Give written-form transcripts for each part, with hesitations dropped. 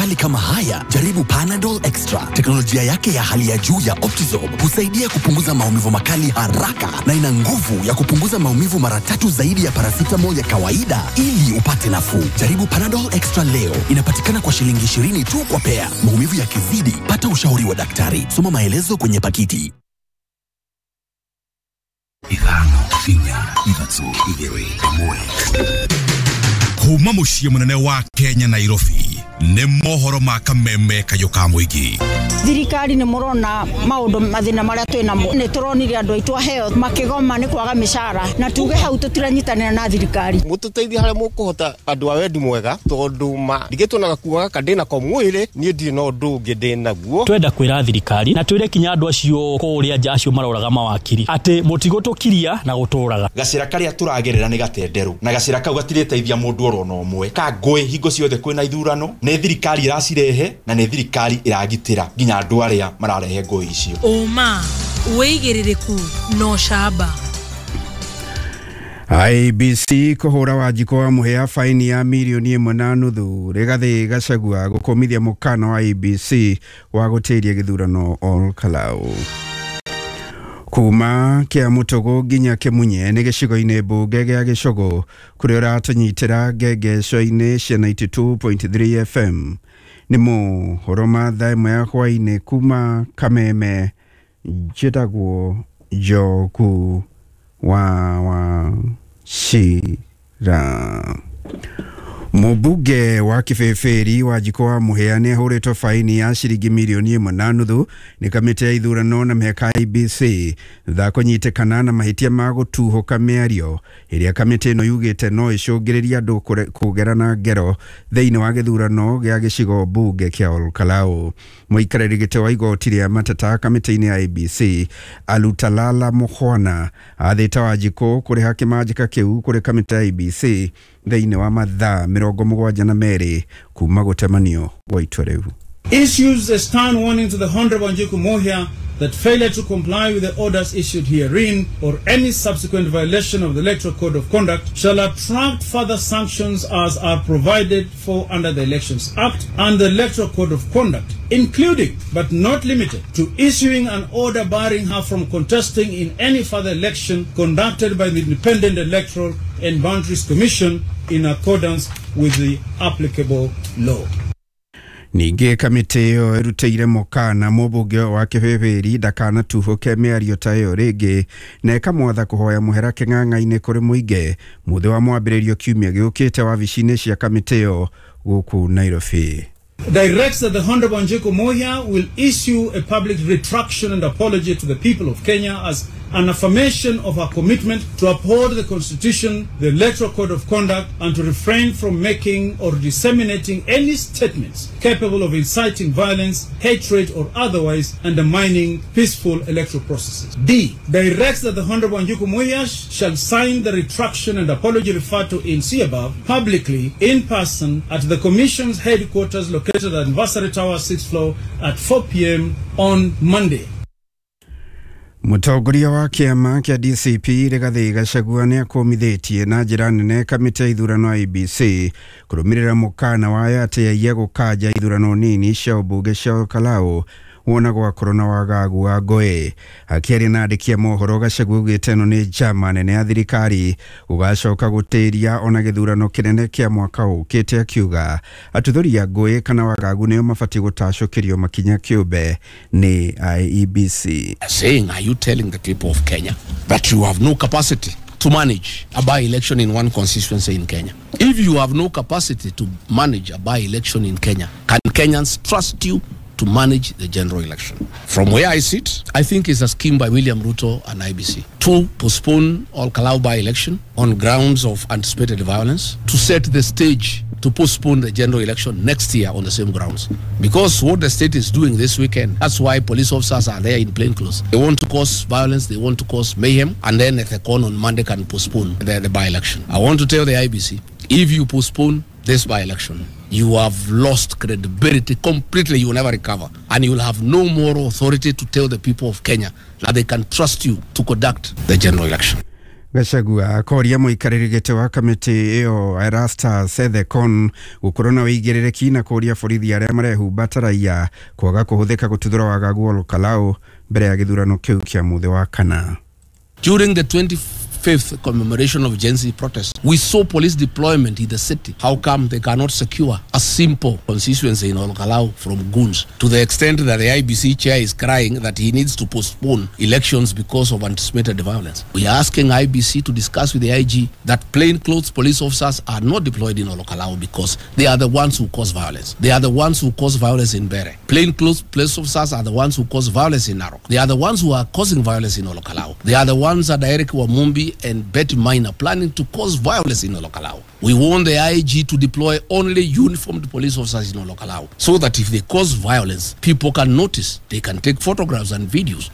makali kama haya, jaribu Panadol Extra. Teknolojia yake ya hali ya juu ya Optizorb husaidia kupunguza maumivu makali haraka na ina nguvu ya kupunguza maumivu mara tatu zaidi ya paracetamol ya kawaida ili upate nafuu. Jaribu Panadol Extra leo. Inapatikana kwa shilingi 20 tu kwa pea. Maumivu yakizidi, pata ushauri wa daktari. Soma maelezo kwenye pakiti. 5, 4, 3, 2, 1. Kuma muciĩ mũnene wa Kenya Nairobi nĩ mohoro ma kameme kayũ ka mũingĩ. Thirikari nĩ mũrona maũndũ mathĩna marĩa twĩ namo, nĩ tũronire andũ aitũ aheo makĩgoma nĩ kwaga mĩcara, na tuge hau tũtiranyitanĩra na thirikari. Mũtũteithie harĩa mũkũhota andũ a wendi mwega, tondũ ma ndigĩtwo na gakuo gaka ndĩ nako mwĩrĩ, niĩ ndirĩ na ũndũ ũngĩ ndĩ naguo. Twenda kwĩra thirikari na twĩre kinya andũ acio kũrĩa nja acio maroraga mawakiri atĩ mũtigũtũkiria na gũtũraga. Gacĩra karĩa tũragerera nĩ gatenderũ, na gacĩra kau gatirĩteithia mũndũ oro na ũmwe. Ka ngũĩ hingo ciothe kwĩna ithurano, nĩ thirikari ĩracirehe na nĩ thirikari ĩragitĩra nginya andũ arĩa mararehe ngũĩ icio. Ũma, wĩigĩrĩrĩku na ũcamba. IEBC kũhũra Wanjikũ wa Mũhĩa faini ya mirioni 1.5 Rigathĩ Gachagua gũkũmithia mũkana wa IEBC wa gũtĩria gĩthurano Ol Kalou. Kuma kĩa Mũtũgũ nginya Kĩmunye nĩ gĩcigo-inĩ mbunge gĩa Gĩcũgũ kũrĩa ũratũnyitĩra ngengeco-inĩ cia 92.3 FM. Nĩ mohoro ma thaa 1 ya hwaĩ-inĩ kuma Kameme, njĩtagwo Njogu wa Wachira. Mũmbunge wa Kĩbĩbĩri Wanjikũ wa Mũhĩa nĩ ahũrĩtwo faini ya ciringi mirioni 1.5 nĩ kamĩtĩ ya ithurano na mĩhaka IEBC thutha kũnyitĩkana na mahĩtia ma gũtuhũka mĩario ĩrĩa kamĩtĩ ĩno yugĩte no ĩcũngĩrĩrie andũ kũgerana ngero thĩinĩ wa gĩthurano gĩa gĩcigo mbunge kĩa Ol Kalou. Mũikarĩri gĩtĩ wa igoti rĩa mateta kamĩtĩ-inĩ ya IEBC Alutalala Mukhwana athĩte Wanjikũ kũrĩha kĩmanjĩka kĩu kũrĩ kamĩtĩ ya IEBC thĩinĩ wa mathaa 72 kuma gũtemanio gwa itua rĩu. Issues a stern warning to the Honorable Wanjiku Muhia that failure to comply with the orders issued herein or any subsequent violation of the Electoral Code of Conduct shall attract further sanctions as are provided for under the Elections Act and the Electoral Code of Conduct, including but not limited to issuing an order barring her from contesting in any further election conducted by the Independent Electoral and Boundaries Commission in accordance with the applicable law. Ningĩ kamĩtĩ ĩyo ĩrutĩire mũkana mũmbunge wa Kĩbĩbĩri ndakanatuhũke mĩario ta ĩyo rĩngĩ na ĩkamwatha kũhoya mũhera kĩng'ang'a-inĩ kũrĩ mũingĩ mũthĩ wa mwambĩrĩrio kiumia gĩũkĩte wabici-inĩ cia kamĩtĩ ĩyo gũkũ Nairobi. Directs that the Honorable Wanjiku Muhia will issue a public retraction and apology to the people of Kenya as an affirmation of her commitment to uphold the Constitution, the Electoral Code of Conduct, and to refrain from making or disseminating any statements capable of inciting violence, hatred, or otherwise undermining peaceful electoral processes. D. Directs that the Honorable Wanjiku Muhia shall sign the retraction and apology referred to in C above publicly in person at the Commission's headquarters located at Anniversary Tower 6th floor at 4 p.m. on Monday. Mũtongoria wa kĩama kĩa DCP Rigathĩ Gachagua nĩ akũmithĩtie na njĩra nene kamĩtĩ ya ithurano IEBC kũrũmĩrĩra mũkana wayo atĩ yaiya gũkanja ithurano nini cia ũmbunge cia Ol Kalou wona gwakorwo na wagagu wa ngũĩ. Akĩaria na andĩki a mohoro Gachagua augĩte ĩno nĩ njama nene ya thirikari gũgacoka gũtĩria ona gĩthurano kĩnene kĩa mwaka ũkĩte, akiuga atuthũri a ngũĩ kana wagagu nĩo mabatiĩ gũtacũkĩrio makinya kĩũmbe nĩ IEBC. Saying, are you telling the people of Kenya that you have no capacity to manage a by-election in one constituency in Kenya? If you have no capacity to manage a by-election in Kenya, can Kenyans trust you to manage the general election? From where I sit, I think it's a scheme by William Ruto and IBC to postpone Ol Kalou by-election on grounds of anticipated violence, to set the stage to postpone the general election next year on the same grounds. Because what the state is doing this weekend, that's why police officers are there in plain clothes. They want to cause violence, they want to cause mayhem, and then at the con on Monday can postpone the by-election. I want to tell the IBC, if you postpone this by-election, you have lost credibility completely. You will never recover. And you will have no more authority to tell the people of Kenya that they can trust you to conduct the general election. Gachagua akoria mũikarĩri gĩtĩ wa kamĩtĩ ĩyo Erastus Ethekon gũkorwo na ũigĩrĩrĩki na kũria borithi arĩa marehumba ta raia kwaga kũhũthĩka gũtuthũra wagagu Ol Kalou mbere ya gĩthurano kĩu kĩa mũthĩ wa kana. During the 25th commemoration of Gen Z protest, we saw police deployment in the city. How come they cannot secure a simple constituency in Ol Kalou from goons, to the extent that the IBC chair is crying that he needs to postpone elections because of anticipated violence? We are asking IBC to discuss with the IG that plainclothes police officers are not deployed in Ol Kalou because they are the ones who cause violence. They are the ones who cause violence in Bere. Plainclothes police officers are the ones who cause violence in Narok. They are the ones who are causing violence in Ol Kalou. They are the ones that Eric Wamumbi and Betty Minor planning to cause violence in Ol Kalou. We want the IG to deploy only uniformed police officers in Ol Kalou so that if they cause violence, people can notice, they can take photographs and videos.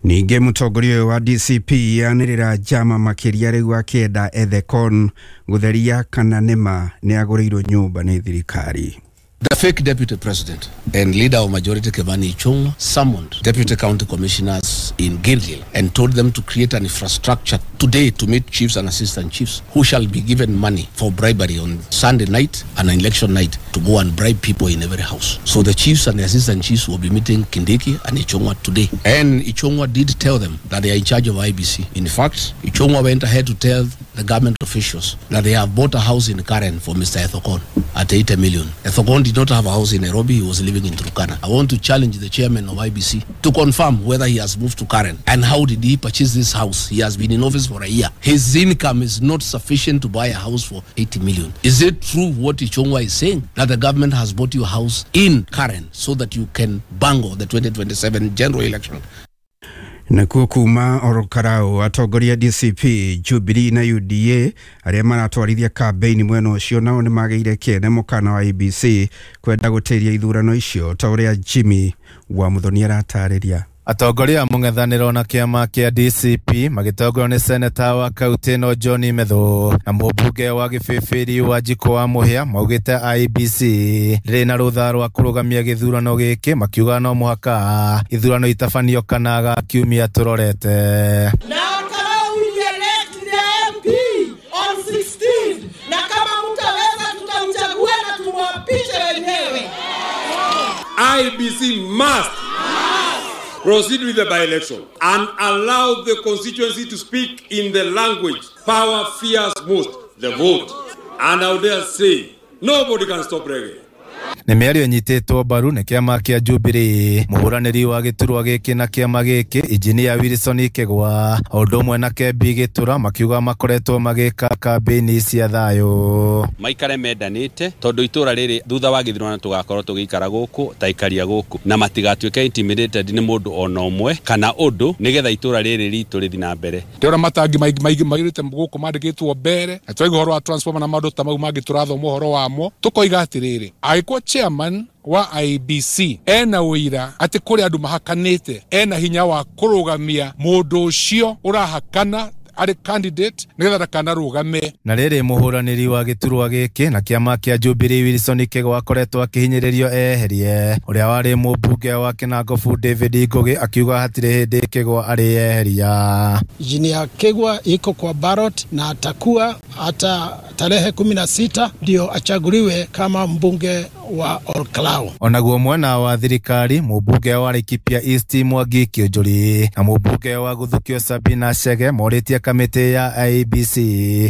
Ningĩ mũtongoria ũyũ wa DCP anĩrĩra njama makĩria rĩu akĩenda Ethekon gũtheria kana nĩma nĩ agũrĩirwo nyũmba nĩ thirikari. The fake deputy president and leader of majority Kimani Ichung'wah summoned deputy county commissioners in Gilgil and told them to create an infrastructure today to meet chiefs and assistant chiefs who shall be given money for bribery on Sunday night and election night to go and bribe people in every house. So the chiefs and the assistant chiefs will be meeting Kindiki and Ichung'wah today. And Ichung'wah did tell them that they are in charge of IBC. In fact, Ichung'wah went ahead to tell the government officials that they have bought a house in Karen for Mr. Ethekon at 80 million. Ethekon did not have a house in Nairobi, he was living in Turkana. I want to challenge the chairman of IBC to confirm whether he has moved to Karen and how did he purchase this house. He has been in office for a year. His income is not sufficient to buy a house for 80 million. Is it true what Ichung'wah is saying, that the government has bought you a house in Karen so that you can bango the 2027 general election? Nakuo kuma Ol Kalou atongoria DCP, Jubilee na UDA arĩa maratwarithia kambĩini mwena ũcio nao nĩ magĩire kĩene mũkana wa IEBC kwenda gũtĩria ithurano icio ta ũrĩa Jimmy wa Muthoni aratarĩria. Atongoria a mũng'ethanĩro na kĩama kĩa DCP magĩtongorio nĩ seneta wa kaunti ĩno John Methu na mũmbunge wa Gĩbĩbĩri wa Njikũ wa Mũhĩa maugĩte IEBC rĩrĩ na rũtha rwa kũrũgamia gĩthurano gĩkĩ, makiuga no mũhaka ithurano itabanio kana ga kiumia tũrorete. Na Kalou will elect the MP on 16, na kama mtaweza tutamchagua na tumwapishe wenyewe. IEBC must proceed with the by-election and allow the constituency to speak in the language power fears most, the vote. And I would dare say, nobody can stop reggae. Nĩ mĩario ĩnyitĩtwo mbaru nĩ kĩama kĩa Jubilee, mũhũranĩri wa gĩturwa gĩkĩ na kĩama gĩkĩ Injinia Wilson Kĩgwa o ũndũ ũmwe na Kembi Gĩtura makiuga makoretwo magĩka kambĩini cia thayũ. Maikare mendanĩte tondũ itũra rĩrĩ thutha wa gĩthurano tũgakorwo tũgĩikara gũkũ ta ikaria gũkũ na matigatuĩke intimidated nĩ mũndũ ona ũmwe kana ũndũ nĩgetha itũra rĩrĩ ritũ rĩthiĩ na mbere. Ndĩrona matangi maingĩ mairĩte gũkũ mandĩkĩtwo mbere na twaigua ũhoro wa transformer na maũndũ ta mau mangĩ tũrathoma ũhoro wamo tũkoiga atĩrĩrĩ, angĩkorwo chairman wa IEBC ena ũira atĩ kũrĩ andũ mahakanĩte, ena hinya wa kũrũgamia mũndũ ũcio ũrahakana arĩ candidate nĩgetha ndakanarũgame. Na rĩrĩ mũhũranĩri wa gĩturwa gĩkĩ na kĩama kĩa Jubilee Wilson Kĩgwa akoretwo akĩhinyĩrĩrio eherie ũrĩa warĩ mũmbunge wa Kĩnangobu David Ngũgĩ akiuga hatirĩ hĩndĩ Kĩgwa arĩeheria. Injinia Kĩgwa iko kwa ballot na atakuwa hata tarehe 16 ndio achaguliwe kama mbunge wa Ol Kalou. Onaguo mwena wa thirikari mũmbunge wa Laikipia East Mwangi Kĩũnjũri na mũmbunge wa Gũthukio Sabina Chege morĩtie kamĩtĩ ya IEBC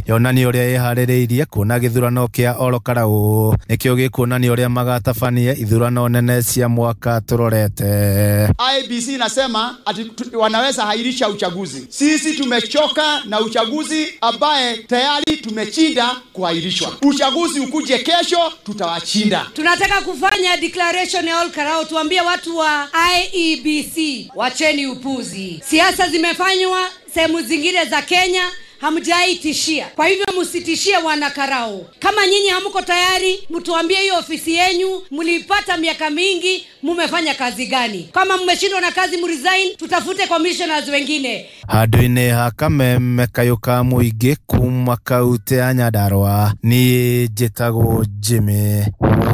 yonanie ũrĩa ĩharĩrĩirie kuona gĩthurano kĩa Ol Kalou nĩkĩo gĩkuonania ũrĩa magatabania ithurano nene cia mwaka tũrorete. IEBC inasema ati wanaweza hairisha uchaguzi. Sisi tumechoka na uchaguzi ambaye tayari tumechinda kuhairishwa. Uchaguzi ukuje kesho, tutawashinda. Tunataka kufanya declaration ya Ol Kalou, tuambie watu wa IEBC wacheni upuzi. Siasa zimefanywa sehemu zingine za Kenya, hamjaitishia. Kwa hivyo msitishie wana Karau. Kama nyinyi hamko tayari, mtuambie hiyo ofisi yenyu mlipata miaka mingi, mumefanya kazi gani? Kama mmeshindwa na kazi mresign, tutafute commissioners wengine. Handũ-inĩ ha kameme kayũ ka mũingĩ kuma kaunti ya Nyandarua, niĩ njĩtagwo Jimmy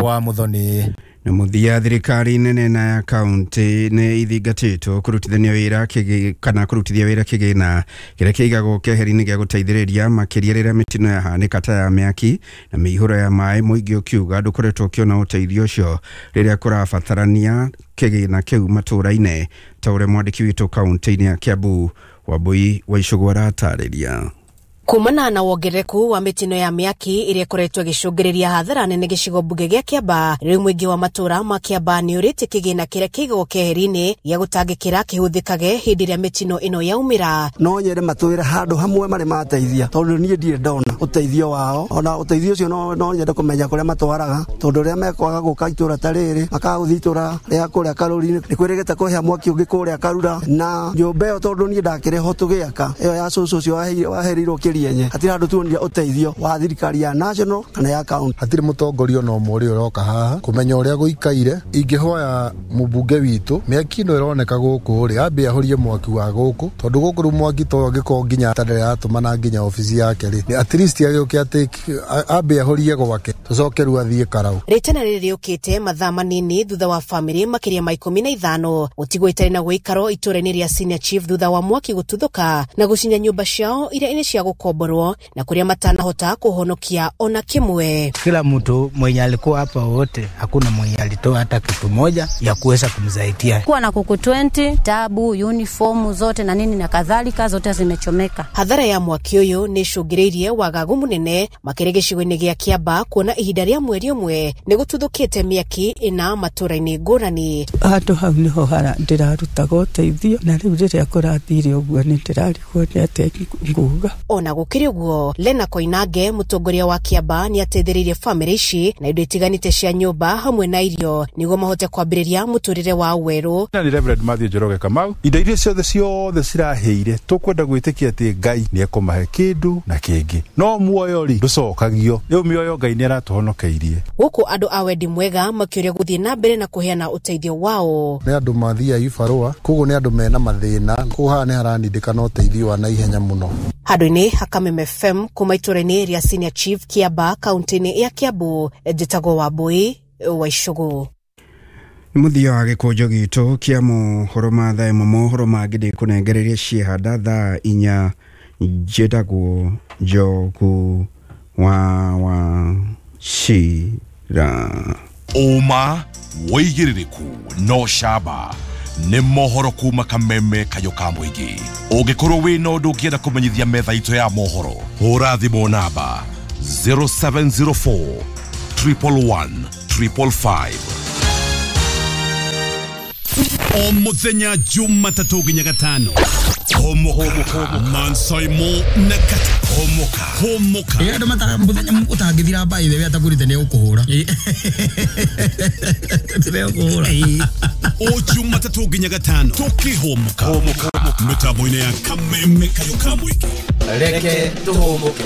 wa Muthoni. Na mũthia, thirikari nene na ya kaunti nĩ ithingatĩtwo kũrutithania wĩra kana kũrutithia wĩra kĩgĩna kĩrĩa kĩigagwo keheri-inĩ gĩa gũteithĩrĩria makĩria rĩrĩa mĩtino yahanĩka ta ya mĩaki na mĩihũro ya maĩ. Mũingĩ ũkiuga ndũkoretwo ũkĩona ũteithio ũcio rĩrĩa kũrabatarania kĩgĩna kĩu matũũra-inĩ, ta ũrĩa mwandĩki witũ kaunti-inĩ ya Kiambu Wambui wa Icũgũ aratarĩria. Kumana na wongerereku wa mĩtino ya mĩaki ĩrĩa ĩkoretwo ĩgĩcũngĩrĩria hathara nene gĩcigo mbunge gĩa Kĩamba, rĩu mũingĩ wa matũũra ma Kĩamba nĩ ũrĩtie kĩgĩna kĩrĩa kĩigagwo keheri-inĩ gĩa gũtangĩkĩra kĩhũthĩkage hĩndĩ ĩrĩa mĩtino ĩno yaumĩra. No nyende matwĩre handũ hamwe marĩ mateithia, tondũ niĩ ndirĩ ndona ũteithio wao. Ona ũteithio ũcio no nyende kũmenya kũrĩa matwaraga, tondũ rĩrĩa mekwaga gũka itũũra ta rĩrĩ, makaga gũthiĩ itũũra rĩa kũrĩa Karũri-inĩ, nĩ kwĩrĩgĩte kũhĩa mwaki ũngĩ kũrĩa Karura na nyũmba ĩyo, tondũ niĩ ndakĩrĩ ho tũgĩaka ĩyo ya cũcũ ũcio waherirwo kĩrienye, hatirĩ handũ tuonire ũteithio wa thirikari ya national kana ya county. Hatirĩ mũtongoria ona ũmwe ũrĩa ũroka haha kũmenya ũrĩa gũikaire. Ingĩhoya mũmbunge witũ, mĩaki ĩno ĩroneka gũkũ rĩ, ambe ahorie mwaki wa gũkũ, tondũ gũkũ rĩu mwaki to angĩkorwo nginya atarĩ nginya obici yake rĩ, at least agĩũke atĩ ambe ahorie gwake, tũcoke rĩu athiĩ Karau. Rĩtana rĩrĩ rĩũkĩte mathaa manini thutha wa famĩlĩ makĩria ma 15 gũtigwo itarĩ na gũikaro itũũra-inĩ rĩa Senior Chief thutha wa mwaki gũtuthũka na gũcinya nyũmba ciao iria nĩ cia gũkomborwo na kũrĩa matanahota kũhonokia ona kĩmwe. Kila mtu mwenye alikuwa hapa wote, hakuna mwenye alitoa hata kitu moja ya kuweza kumsaidia. Kuwa na kuku 20, tabu, uniformu zote na nini na kadhalika zote zimechomeka. Hathara ya mwaki ũyũ nĩ ĩcũngĩrĩirie wagagu mũnene makĩria gĩcigo-inĩ gĩa Kĩamba, kuona ihinda rĩa mweri ũmwe nĩ gũtuthũkĩte mĩaki ĩna matũũra-inĩ ngũrani. Handũ hau nĩho ndĩrarutaga ũteithio, na rĩu rĩrĩa kũrathire ũguo nĩ ndĩrarigwo nĩ atĩa nguga. Ona gũkĩrĩ ũguo, Lena Koinange mũtongoria wa Kĩamba nĩ ateithĩrĩirie famĩlĩ ici na indo itiganĩte cia nyũmba hamwe na irio nĩguo mahote kwambĩrĩria mũtũrĩre wao werũ. Na ni Reverend Matthew Njoroge Kamau, indo iria ciothe cirahĩire tũkwenda gwĩtĩkia atĩ Ngai nĩ ekũmahe kĩndũ na kĩngĩ, no muoyo rĩ ndũcokagio. Rĩu mĩoyo Ngai nĩ aratũhonokeirie. Gũkũ andũ a wendi mwega makĩũria gũthiĩ na mbere na kũheana ũteithio wao. Nĩ andũ mathiaga ibarũa, koguo nĩ andũ mena mathĩna, koguo haha nĩ haranindĩkana ũteithio wa naihenya mũno. Handũ-inĩ ha Kameme FM kuma itũũra-inĩ rĩa Senior Chief Kĩamba kaunti-inĩ ya Kiambu, njĩtagwo Wambui wa Icũgũ. Nĩ mũthia wa gĩkũnjo gitũ kĩa mohoro ma thaa ĩmwe. Mohoro mangĩ ndĩkũnengereria ciehanda thaa 4. Njĩtagwo Njogu wa Wachira. Ũma wĩigĩrĩrĩku no camba nĩ mohoro kuma Kameme kayũ ka mũingĩ. Ũngĩkorwo wĩna ũndũ ũngĩenda kũmenyithia metha itũ ya mohoro, hũra thimũ namba 0704 111 555. O mũthenya Jumatatũ nginya Gatano, Homoka Mansaimo na Kata Homoka Homoka. Andũ mataga mũthenya ũtangĩthira by the way atagũrĩte nĩ ũkũhũra. Nĩ ũkũhũra. O Jumatatũ nginya Gatano tũkĩhomoka mĩtambo-inĩ ya Kameme kayũ ka mũingĩ. Reke tũhũmũke.